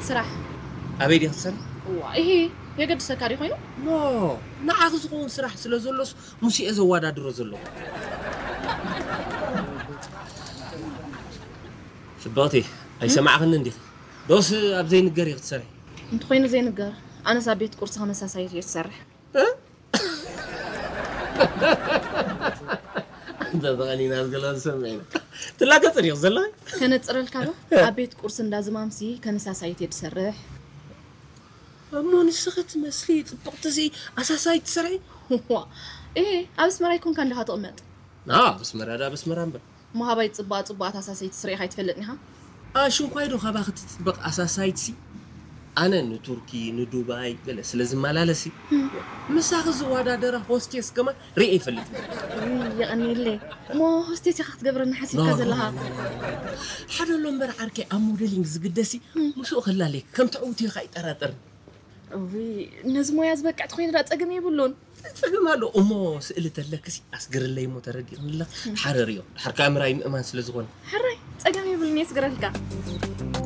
ስራሕ። ኣበይ ዲኻ ትሰርሒ? እዋ፣ ይሄ የገድሰካ ድዩ ኮይኑ? ኖ፣ ንዓኺ ዝኸውን ስራሕ ስለ ዘሎስ ሙሴ እየ ዘወዳድሮ ዘለኹ። ጽብቕቲ፣ ኣይሰማዕኽንን ዲኺ? ዶስ ኣብ ዘይንገር ኢኺ ትሰርሒ? እንተኾይኑ ዘይንገር፣ ኣነስ ኣብ ቤት ቁርሲ ከመሳሳይ እየ ዝሰርሕ። እንተ ተቐኒና ዝገለ ዝሰምዕ ኢና። ትላገጽ ዲኺ ዘለኺ? ከነጽረልካ ዶ? ኣብ ቤት ቁርሲ እንዳ ዝማምሲ ከነሳሳይት እየ ዝሰርሕ። እሞ ንስኺ ትመስሊ ጽብቕቲ ሲ ኣሳሳይት ትሰርሒ? ዋ፣ ኤ፣ ኣብ ኣስመራ ይኮንካ እንዲኻ ትቕመጥ? ኣብ ኣስመራ ዳ ኣብ ኣስመራ እምበር። እሞ ሃባይ ጽቡቓ ጽቡቓት ኣሳሰይቲ ስርኢኻ ኣይትፈልጥን ኢኻ? ኣሽንኳይ ዶ ካባኺ ትጽብቕ ኣሳሳይት ሲ? ኣነ ንቱርኪ ንዱባይ ገለ ስለ ዝመላለስ ሲ፣ ምሳኺ ዝወዳደራ ሆስቴስ ከማን ርእየ ኣይፈልጥን። ውይ፣ የቐንየለይ። እሞ ሆስቴስ ኢኻ ክትገብረና ሓሲብካ ዘለኻ? ሓደ ኣሎ እምበር ዓርከይ ኣብ ሞዴሊንግ ዝግደስ ሲ፣ ምስኡ ክላለይ ከም ትዕውትዮ ከይጠራጠርን። እውይ፣ ነዚ ሞያ ዝበቅዕ ተኾይኑ ደኣ ጸገም የብሉን። ጸገም ኣሎ እሞ፣ ስእሊ ተለክሲ ኣስግርለይ እሞ፣ ተረዲእኽኒ ኣለኺ። ድሓር ርእዮ፣ ድሓር ከኣ ምርኣይ ምእማን ስለ ዝኾነ። ሕራይ፣ ጸገም የብሉን፣ የስግረልካ።